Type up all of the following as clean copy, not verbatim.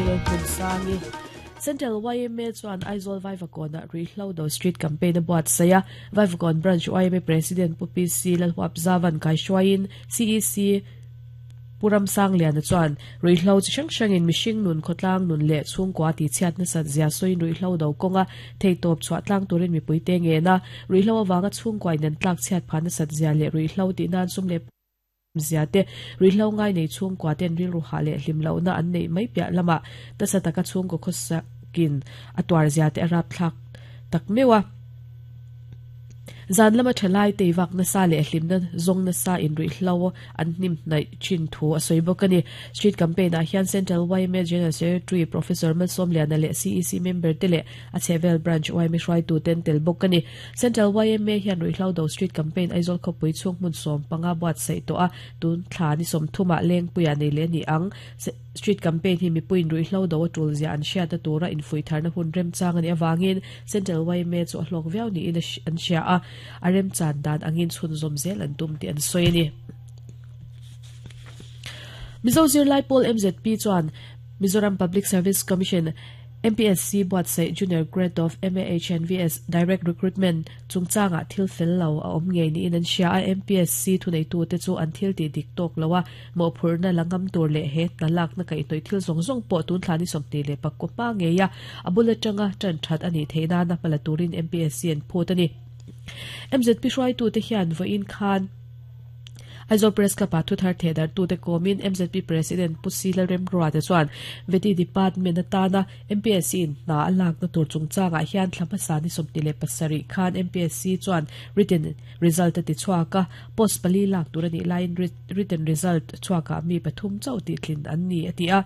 Lalhmunsangi. Central yma chuan Aizawl Vaivakawnah Ruihhlo Do Street Campaign a buatsaih a, Vaivakawn Branch yma President Pu PC Lalhuapzavan kaihruaiin CEC Pu Ramsangliana chuan ruihhlo chi hrang hrangin mihring nun, khawtlang nun leh chhungkua tihchhiat nasat zia sawiin ruihhlo do kawnga theihtawp chhuah tlang turin mipuite ngen a, ruihhlo avanga chhungkua in an tlak chhiat phah nasat zia leh ruihhlo tih nan sum leh zia te, ruihhlo ngai nei chhungkua ten rilru hah leh hlim lohna an neih mai piah lamah nasa taka chhungkaw khawsakin a tuar zia te a rapthlak tak meuh a. Zan lama thalai tei vak nasa leh hlimna zawng nasa inruihhlo an hnim hnaih thin thu a sawi bawk a ni. Street Campaign ah hian Central yma General Secretary Professor Malsawmliana leh CEC member te leh a chhehvel Branch yma hruaitu te an tel bawk a ni. Central yma hian ruihhlo do Street Campaign Aizawl khawpui chhung hmun 15 buatsaih tawh a, tun thla ni 30 ah Lengpuiah nei leh a ni ang. Street Campaign hi mipuiin ruihhlo do a tul zia an hriatna tura infuihtharna hun remchang a nih avangin Central yma chu a hlawk viau niin an hria a, a remchan dan angin chhunzawm zel an tum tih an sawi a ni. Mizo Zirlai Pawl MZP chuan Mizoram Public Service Commission, MPSC, buatsaih Junior Grade of MAHNVS Direct Recruitment chungchangah thil fel lo a awm ngei niin an hria a, MPSC thuneitute chu an thil tih dik tawk lo a, Mawhphurhna la ngam tur leh he hna lakna kaihhnawih thil zawng zawng pawh tun thla ni 29 hma ngei a, a bul atanga tan that a nih theih nana hma la turin MPSC an phut a ni. MZP hruaitute hian vawiin khan Aizawl Press Club-ah thuthar thehdarhtute kawmin MZP President Pu Si Lalremruata chuan Vety Department atana MPSC in hna a lakna tur chungchangah hian thla hmasa ni 27 khan MPSC chuan written result a ti chhuak a, post pali lak tur a nih laiin written result chhuakah mi pathum chauh tihtlin an ni a ti a.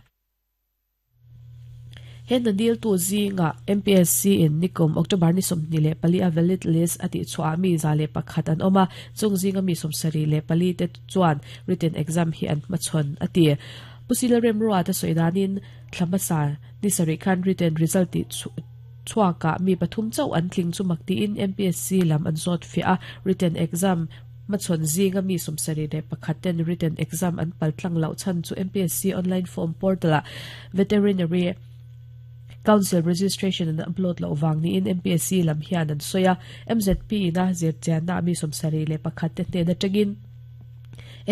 He hna diltu zingah MPSC in nikum October ni 24 a valid list a tihchhuahah mi 101 an awm a, chung zinga mi 74 te chuan written exam hi an hmachhawn a ti. Pu Sila Remruata sawi danin thla hmasa ni sarih khan written result tih chhuakah mi pathum chauh an tling chu mak tiin MPSC lam an zawt fiah a, written exam hmachhawn zinga mi 71 ten written exam an pal tlang loh chhan chu MPSC online form portal ah Veterinary Council registration an upload loh vang niin MPSC lam hian an sawi a, MZP in a zirchianna ah mi 71 te hnen atangin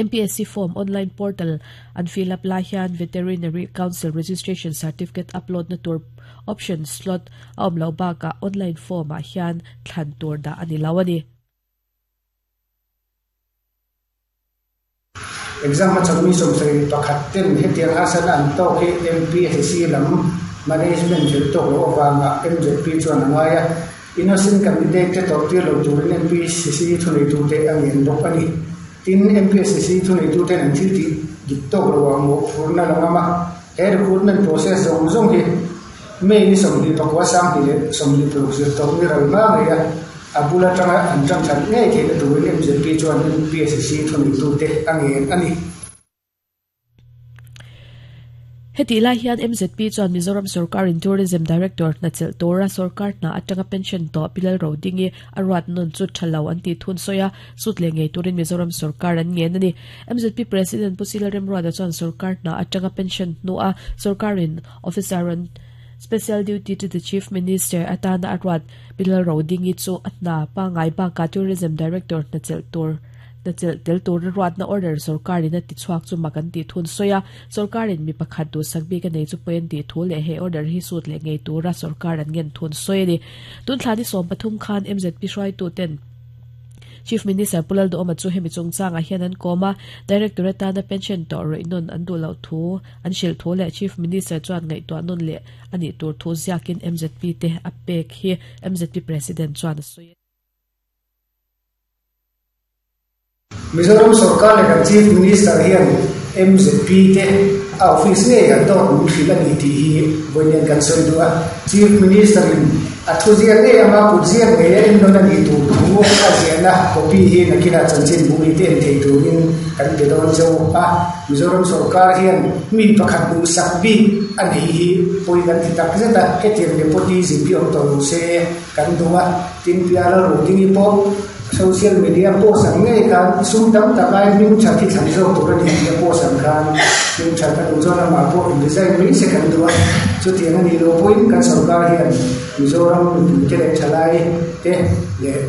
MPSC form online portal an fill up lai hian Veterinary Council registration certificate upload na tur option slot a awm loh bakah online form ah hian thlan tur dah a ni lo a ni. Exam hmachhawn mi 71 ten hetiang harsatna an tawk hi MPSC lam management fel tawk loh avanga MZP chuan a ngai a, innocent candidate te tawrhtir lo turin MPSC thuneitute a ngen bawk a ni. Tin, MPSC thuneituten an thil tih dik tawk loah mawhphurhna la ngam a, he recruitment process zawng zawng hi May ni 29, 2026 zir tawh ni ral hma ngei a, a bul atanga an tan that ngei theihna turin MZP chuan MPSC thuneitute a ngen a ni. Hetih lai hian MZP chuan Mizoram sorkarin Tourism Director hna chelh tura sorkar hna atanga pension tawh Pi Lalrodingi a ruat nawn chu tha lo an tih thun sawi a, sut leh ngei turin Mizoram sorkar an ngen a ni. MZP President Pu Sila Remruata chuan sorkar hna atanga pension hnua sorkarin Officer on Special Duty to the Chief Minister atana a ruat Pi Lalrodingi chu a hna pangngai bakah Tourism Director hna chelh tur hna chelh tel tura ruatna order sorkarin a tichhuak chu mak an tih thun sawi a, sorkarin mi pakhat duhsak bik a nei chu pawi an tih thu leh he order hi sut leh ngei tura sorkar an ngen thun sawi a ni. Tun thla ni 13 khan MZP hruaituten Chief Minister Pu Lalduhawma chu hemi chungchangah hian an kawm a, Director atana pension tawh rawih nawn an duh loh thu an hrilh thu leh Chief Minister chuan ngaihtuah nawn leh a nih tur thu ziakin MZP te a pek hi MZP President chuan a sawi a. Mizoram sorkar leh kan Chief Minister hian MZP te a office ngei an dawt min hrilh a ni tih hi vawiin kan sawi duh a. Chief Minister in a thu ziak ngei anga kut ziak ngei a ennawn a nih tur thu a ziahna copy hi nakinah chanchinbu mi te en thei turin kan pe dawn cheu a. Mizoram sorkar hian mi pakhat duhsak bik a neih hi pawi kan ti tak zet a, hetiang nepotism hi awm tawh lo se kan duh a. Tin, Piala Rudingi pawh social media post ang ngei khan sum tam tak aiin hming that hi thlan zawk tur a ni tih a post ang khan. Hming that a duh chuan amah pawh in resign mai se kan duh a, chutiang a nih loh pawhin kan sorkar hian Mizoram mipuite leh thalai te leh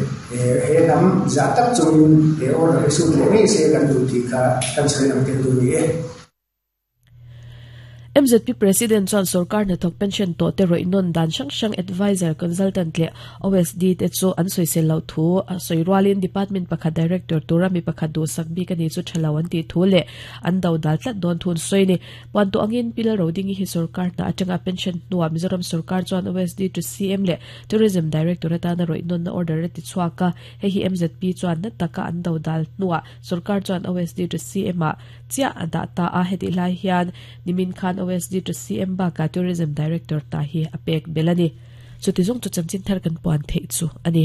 he hnam zah tak chungin he order hi sut leh ngei se kan duh tih kha kan sawi lang tel duh a ni e. MZP President chuan sorkar hnathawk pension tawh te rawih nawn dan hrang hrang adviser, consultant leh OSD te chu an sawisel loh thu a sawi rualin department pakhat director tura mi pakhat duhsak bik a ni chu tha lo an tih thu leh an do dal tlat dawn thu an sawi a ni. Puan tawh angin Pi Lalrodingi hi sorkar hna atanga pension hnuah Mizoram sorkar chuan OSD to CM leh Tourism Director atana rawih nawnna order a ti chhuak a, hei hi MZP chuan na taka an do dal hnuah sorkar chuan OSD to CM ah chiah a dah ta a, hetih lai hian nimin khan OSD to CM bakah Tourism Director hna hi a pek belh a ni. Chuti zawng chu chanchin thar kan puan theih chu a ni.